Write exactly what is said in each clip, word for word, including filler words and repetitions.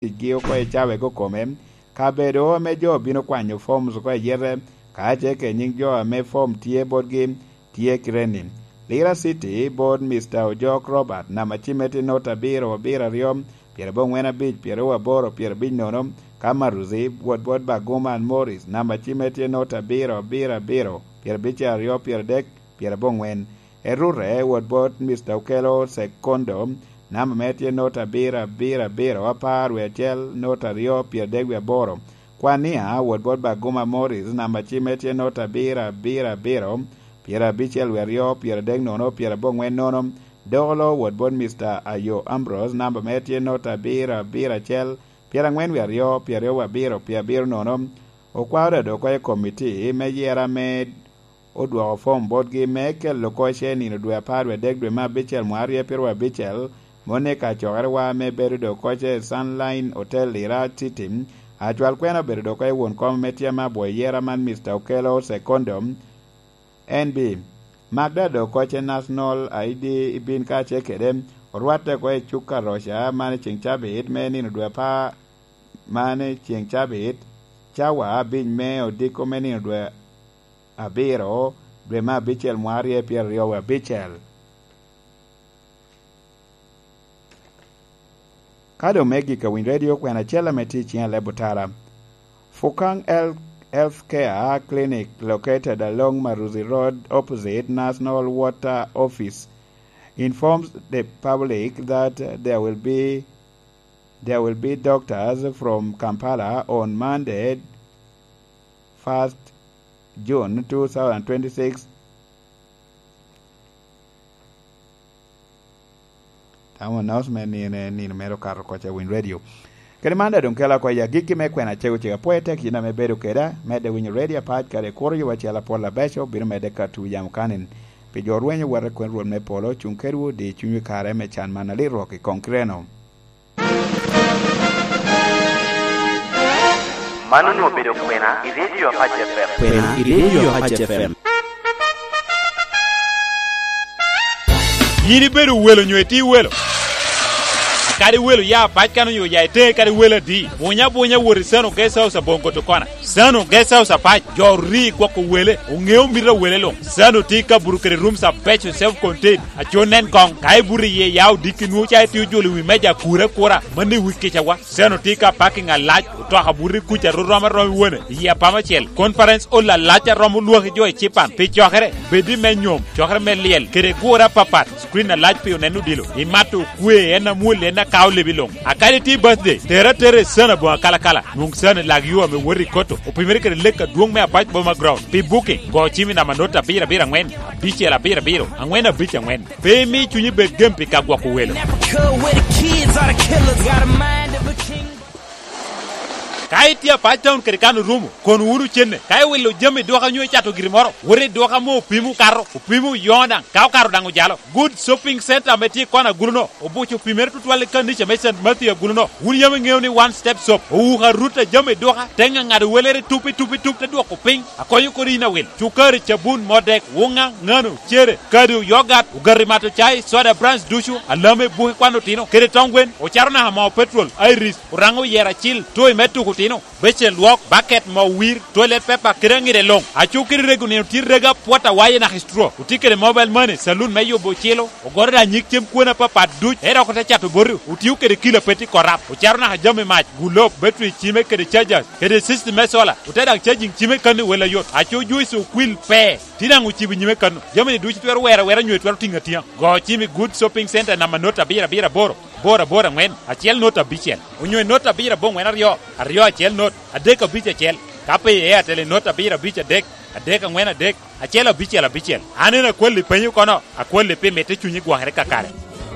ticgi oko i cawego kome, kabedo ame jo bino kwanyo forms oko i yete, ka ce ke nyiŋ jo ame form tye botgi, tye kite-ni: Lira City, bot Mister Ojok Robert, namba cimme tye not abiro abiro aryo, pyerabongwen abic, pyeraryo aboro, pyerabic nono. Ka Maruzi, wot bot Baguman Morris, namba cimme tye not abiro abiro abiro, pyerabicel aryo, pyeradek, pyerabongwen. Erure, wot bot Mister Okello Sekondo, namba mere tye not abiro abiro abiro, apar wie acel, not aryo, pyeradek wie aboro. Kwania, wot bot Baguma Morris, namba cimme tye not abiro abiro abiro, pyerabicel wie aryo, pyeradek nono, pyerabongwen nono. Dolo, wot bot Mister Ayo Ambrose, namba mere tye not abiro abiro acel, pyerangwen wie aryo, pyeraryo wie abiro, pyerabiro nono. Okwao dado oko i komiti me yera me odwoko fom botgi me kelo koce nino dwe apar wie adek dwe me abicel mwaka aryo pyeraryo abicel, moni ka cokerewa me bedo doŋ koce i Sunline Hotel Lira City. Acwal kwena obedo doŋ koce won kom me tyem abwo i yera man, Mister Okello Sekondo, N B. Magda doŋ koce National I D ibin kacel kede orwatte oko i cuk Karoca man i ceŋ cabit me nino dwe apar, man i ceŋ cabit, cawa abic me odiko me nino dwe abiro, dwe me abicel mwaka aryo pyeraryo wie abicel. Ka doŋ me gik a Winy Radio, kwena acel ame tye i ciŋ aleb otara. Fukang Health, Health Care Clinic located along Maruzi Road opposite National Water Office informs the public that there will be, there will be doctors from Kampala on Monday, first June two thousand twenty-six. Tamo announcement ni en nino mere okato koca Winy Radio. Kadi man daŋ doŋ kela oko i agikki me kwena cego cego. Apwoyo tek yin ame bedo keda, medde winyo Radio Apac, kadi kuro yuba acel apol abeco, bino medde ka tugo yamo kanin. Pi jo rwenyo wot i kwena Rwot me polo, cuŋ kedwu, di cunywu i kare me can man alit rwok i koŋ kireno. Man onwoŋo obedo kwena i Radio Apac F M. Kwena i Radio Apac F M. Yin ibedo welo nyo itye welo? Kadi welo ya pac kan onyo ya ite, kadi welo adi, bunya bunya wot i Sano Guest House aboŋo Gotokona. Sano Guest House apac, jo ori gwoko wele, oŋeo mito a wele luŋ. Sano tye i kabuto kede rooms abeco, self contained, aco nen koŋ. Ka ibuto iye, ya odiki nwoŋo ca itye ojolo i wi meja akura akura, mano i wi kicawa. Sano tye ka parking alac, otoka buto i kuca rom arom i wone, i apama acel. Conference hall alac a romo lwaki jo i cipan pi cokere, bed i me nyom, cokere me lyel, kede gure apapat. Screen alac pi oneno odilo. Imato okwe, en amwol, en akao lebi luŋ. A kadi tye birthday, tere atera i Sano aboŋo akalakala. Nwoŋ Sano i lag yo ame woto i Koto, opimere kede lek adwoŋ me Apac Boma Ground. Pi booking, go cim i namba not abiro abiro aŋwen, abicel abiro abiro, aŋwen abic aŋwen. Pe imi cunyi bed gem pi ka gwoko welo. Never cool with the kids, all the killers got a mind of a king. Ka itye Apac Town kede kan orumo, kono wunu cenne. Ka iwilo jami i duka nyo icato giri moro, wot i duka ame opimo okato, opimo oyoŋo daŋ, ka okato daŋ ojalo. Good Shopping Center ame tye i kona agulu-no, obuco opimere tutwal i kanica me Saint Matthew agulu-no. Wun yam iŋeo ni One Step Shop owuko arut a jami i duka, te ŋaŋado welere tup i tup i tup, te dwoko piny. Akonyo kodi yin awil. Cukari, cabun, modek, wuŋa, ŋano, cere, kado, yogat, ogati mato cai, soda, brands ducu, alame, buki kwan otino, kede toŋ gwen, ocato naka moo petrol, iris, oraŋo oyero acil, toy me tuko otino, becen lwok, baket, moo wir, toilet paper, kede aŋide luŋ. Aco kede rego nino tye rego apwot awaye naka i straw. Otye kede mobile money, saloon me yubo ocilo, ogoro daŋ nyig cem kwone apapat duc, ento dok ote cato boti, otio kede kilo a pe tye korap, ocato naka jami mac, gulob, battery cime kede chargers, kede system me solar, ote daŋ charging cime kan i wel ayot. Aco juice okwil pe, tye daŋ ocibo nyime kan-nu. Jami-ni ducu twero wero awera nyo itwero tiŋo atiŋa. Go cim i Good Shopping Center namba not abiro abiro aboro, boro aboro aŋwen, acel not abicel, onyo i not abiro aboŋwen aryo, aryo acel not, adek abic acel. Ka pe i Airtel i not abiro abic adek, adek aŋwen adek, acel abicel abicel. An en akwalli penyo kono, akwalli pi mitte cunyi gwokere kakare.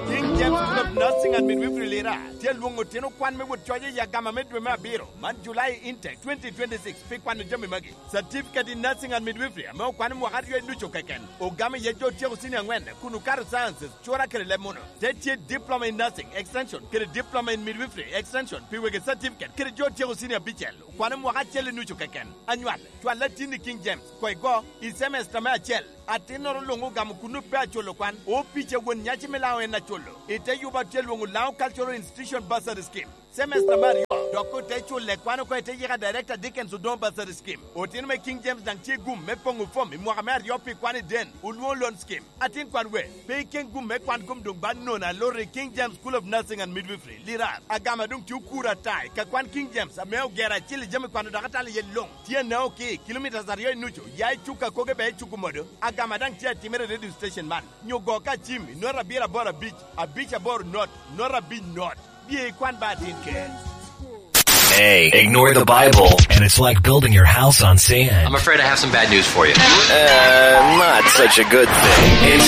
King James Club Nursing and Midwifery Lira tye alwoŋo otino kwan me wot coc i agama me dwe me abiro man, July intake twenty twenty-six, pi kwano jami magi: Certificate in Nursing and Midwifery ame okwano mwaka aryo i ducu keken, ogamo iye jo otyeko cinia aŋwen kun okato sciences, cura kede leb munu. Te tye Diploma in Nursing Extension kede Diploma in Midwifery Extension pi wegi certificate kede jo otyeko cinia abicel, okwano mwaka acel i nucu keken. Anywal, cwal latinni King James, koŋ igo i cemesta me acel. Atinnoro luŋ ogamo kunnu pe aculo kwan, opica won nyaci me Laŋo en aculo. I te yubo Tye lwoŋo Laŋo Cultural Institution Bursary Scheme, semester me aryo, dok ote culle kwan oko i te yika Director Dickens Odongo Bursary Scheme. Otino me King James daŋ tye gum me poŋo fom i mwaka me aryo pi kwan i den, olwoŋo Loan Scheme. Atin kwan we, pe iken gum me kwan gum doŋ ba nono alor i King James School of Nursing and Midwifery, Lirar. Agama doŋ tye okuro ata i ka kwan King James ame ogero acil i jami kwano dok atalo iye luŋ. Tye anaŋo ki kilomitas aryo i nucu, ya i cuk akoge ba i cuk omodo. Agama daŋ tye atimere i radio station man. Nyo go ka cim i not abiro aboro abic, abic aboro not, not abic not. Bye ikwan ba atin ker. Hey, ignore the Bible, and it's like building your house on sand. I'm afraid I have some bad news for you. Uh, not such a good thing. It's